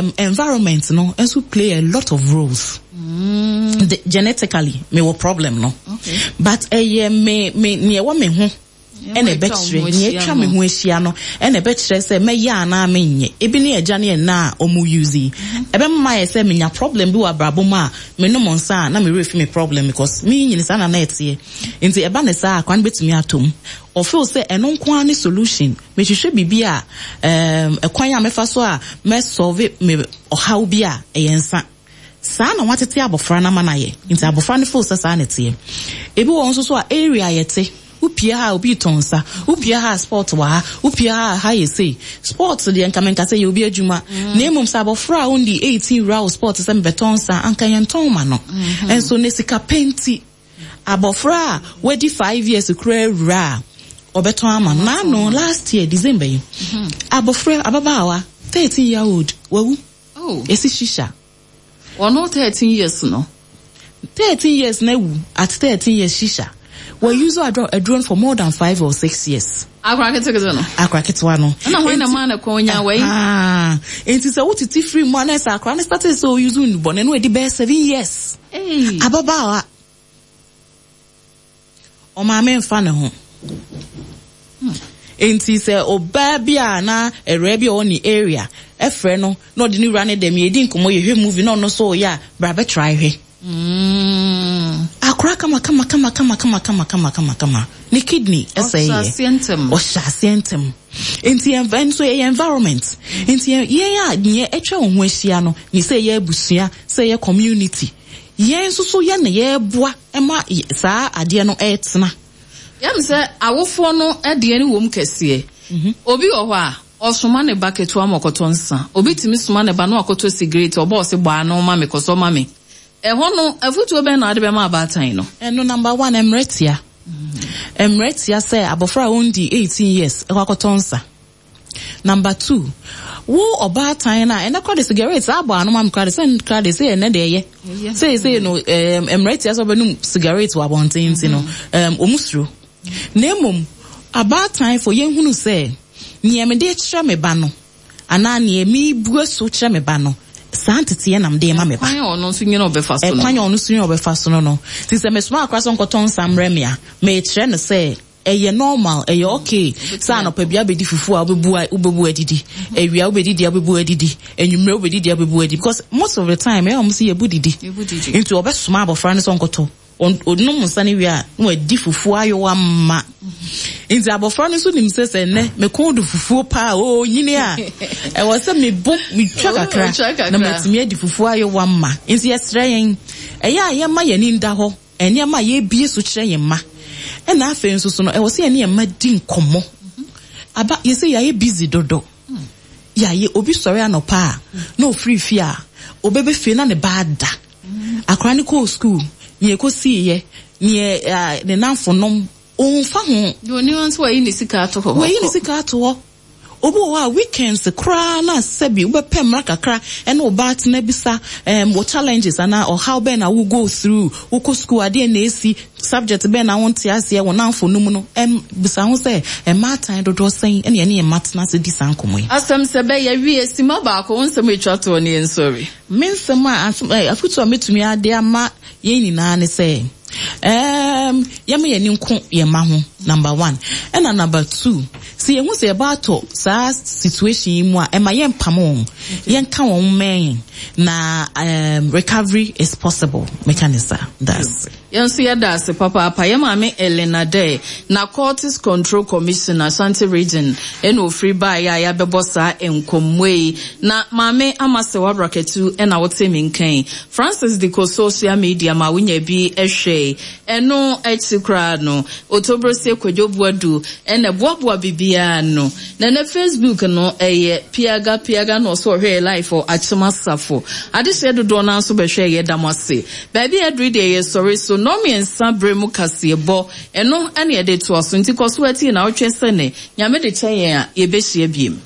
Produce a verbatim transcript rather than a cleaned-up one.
um, environment no nso play a lot of roles. Mm. The, genetically, me wɔ problem no. Okay. But ɛyɛ me me nea ɛwɔ me ho ɛna ɛbɛkyerɛ nea atwa me ho ahyia no ɛna ɛbɛkyerɛ sɛ mɛyɛ anaa menyɛ. Ebi ne agya ne ɛna a ɔmo use yi. Ɛbɛma yɛ sɛ menya problem bi wɔ abrabɔ mu a, menom nsa a, na me werɛ fi me problem, because me nyini saa na na ɛteɛ. Nti ɛba ne saa, akora no bɛtumi atɔ mu. Ɔfeel sɛ ɛno nko ara ne solution. Mehwehwɛ biribi a um, ɛkwan a mɛfa so a mɛsolve me ɔhaw bi a, ɛyɛ nsa. Saa na watete abɔfra no ama no ayɛ, nti abɔfra no feel sɛ saa na ɛteɛ. Ebi wɔ nso so a, area yɛte, wopie ha a, obi tɔn nsa, wopie ha a, spot wɔ ha, wopie ha a, ha yɛ sei spot deɛ, nka menka sɛ yɛ obi adwuma, na mmom sɛ abɔfra a wondi eighteen wura wo spot sɛ mebɛtɔn nsa, anka yɛntɔn ma no. Ɛnso ne sika pɛ nti, abɔfra a wadi five years kura awura a, ɔbɛtɔn ama no. Naano last year December yi, abɔfra ababaawa thirteen year old wawu. Oh. Esi shisha. Ɔno thirteen years no? Thirteen years na ewu at thirteen years. Shisha wɔ use aduro aduro for more than five or six years. Akora ketekete no? Akora ketewa no. Ɛna hwan na maa ne kɔn nya wei? Ah, nti sɛ wotete firi mu a, na sɛ akora no start sɛ o use nnubɔne no, edi bɛyɛ seven years. Hey. Ababaawa, ɔmaame nfa ne ho. Nti sɛ ɔbaa bi a na awuraa bi a ɔwɔ ne area ɛfrɛ no na ɔde ne wura ne dɛm, yɛdi nkɔmmɔ, yɛhwɛ movie, na ɔno nso ɔyɛ a, bra bɛtry hwɛ. Mm. Akora kama kama kama kama kama kama kama kama kama, ne kidney ɛsɛ Ɔhyɛ yɛ. Aseɛ ntɛm. Ɔhyɛ aseɛ ntɛm. Nti yɛn nso yɛyɛ environment, nti yɛn yɛn a neɛ atwa wɔn ho ahyia no ne sɛ yɛ abusua, sɛ yɛ community, yɛn nso so yɛn na yɛreboa ɛma saa adeɛ no ɛretena. Yam sɛ awofoɔ no deɛ ne wɔm kɛseɛ. Obi wɔ hɔ a ɔsoma ne ba ketewa ma ɔkɔtɔ nsa, obi tumi soma ne ba na wakɔtɔ cigarette, ɔbɔ ɔse bɔ ano ma me, kɔsɔ ma me. Ɛhɔ no, afutuo bɛn na ade bɛma abaatan no? Ɛno, number one, mmerɛ tia, mmerɛ tia sɛ abɔfra a ɔndi eighteen years ɛkɔ akɔtɔ nsa. Number two, wo ɔbaatan no a ɛnɛ kora de cigarette saa abɔ ano ma me kora de sɛ kora de sɛ ɛnɛ deɛ ɛyɛ sɛ sɛ no, ɛɛm mmerɛ tia sɛ ɔbɛnum cigarette wɔ abɔnten, nti no ɛɛm ɔmu suro. Na mmom abaatan fo, yɛnhunu sɛ nea mede kyerɛ me ba no anaa nea mebue so kyerɛ me ba no, saa nteteɛ nam de ma me ba. Kwan a ɔno nso nyina ɔbɛfa so no. Ɛkwan a ɔno nso nyina ɔbɛfa so no no Nti sɛ mesoma akora sɛ nkɔtɔ nsa mmerɛ me a, mekyerɛ no sɛ ɛyɛ normal, ɛyɛ okay sɛ anɔpa bi abɛdi fufuo a, wobɛbu wobɛbu adidi, awia wobɛdidi a, wobɛbu adidi, anwummerɛ wobɛdidi a, wobɛbu adidi, because most of the time ɛyɛ ɔmo sɛ yɛbu didi. Yɛbu didi. Nti ɔbɛsoma abɔfra no sɛ ɔnkɔtɔ, ɔnom nsa no wie a, na wadi fufuo ayowa ma. Nti abɔfra no nso nim sɛ sɛ nnɛ mekɔn do fufuo paa o, nyini a, ɛwɔ sɛ mebo metwa kakra Wotwa kakra. Na matumi adi fufuo ayowa ma. Nti yɛsrɛ yɛn, ɛyɛ a yɛma yɛni nda hɔ nneɛma a yɛbie so kyerɛ yɛn mma. Ɛna afei nso so no, ɛwɔ sɛ yɛne yɛn mma di nkɔmmɔ. Aba yɛsɛ yɛayɛ busy dodo. Yɛayɛ obi sɔre anɔpa a, na ofiri fie a, obɛbɛ fie na ne ba ada. Akora ne kɔɔ school, nea ɛkɔsiiɛ, nea ne namfo nom, ɔmfa ho. Deɛ oni hɔ nso, wayi ne sika ato hɔ. Wayi ne sika ato hɔ. Obi wɔ hɔ a, weekends koraa na sɛbi wobɛpɛ mmara kakra ɛne wo ba atena bisa um, wo challenges anaa ɔhaw bɛn na wo go through, wokɔ school, adeɛ na esi, subject bɛn na wonte aseɛ, wo namfo no mu no, ɛm bisa ho sɛ mmaatan dodoɔ sɛn ɛne ɛne yɛn mma tena ase di saa nkɔmmɔ yi. Asɛm sɛ bɛyɛ wie, sima baako, wo nsɛm atwa toɔ ne yɛnsɔre. Me nsɛm a asɛm ɛ afotu a metumi ade ama yɛn nyinaa ne sɛ um, yɛma yɛn ani nko yɛn mma ho, number one. Ɛna number two, sɛ yɛhu sɛ yɛba atɔ saa situation yi mu a, ɛma yɛmpam wɔn, yɛnka wɔn mmɛn, na um, recovery is possible. Meka ne saa. That's Yɛn nso yɛda ase papaapa. Yɛ maame Elena Dɛ, Narcotics Control Commission, Ashanti Region, ɛna ofiri baeɛ a yɛabɛbɔ saa nkɔmmɔ yi. Na maame ama sɛ wabrakatu ɛna wote me nkan. Francis de kɔ social media ma wonya bi ɛhwɛ. Ɛno akyi koraa no, Otobrosie Kwadwo Boadu ɛna boaboa biribiara no. Na ne Facebook no ɛyɛ Piaga Piaga na ɔso ɔhwɛ live wɔ Akyem Asafo. Adehyɛ dodoɔ no nso bɛhwɛ, yɛ da mo ase. Baabi a aduru deɛ, yɛsɔre so nnɔmmiɛnsa berɛ mu kaseɛbɔ, ɛno ɛne yɛde toa so. Nti kɔ so atie na wotwɛ sɛ ne Nyame de kyɛ yɛn a, yɛbɛhyia biem.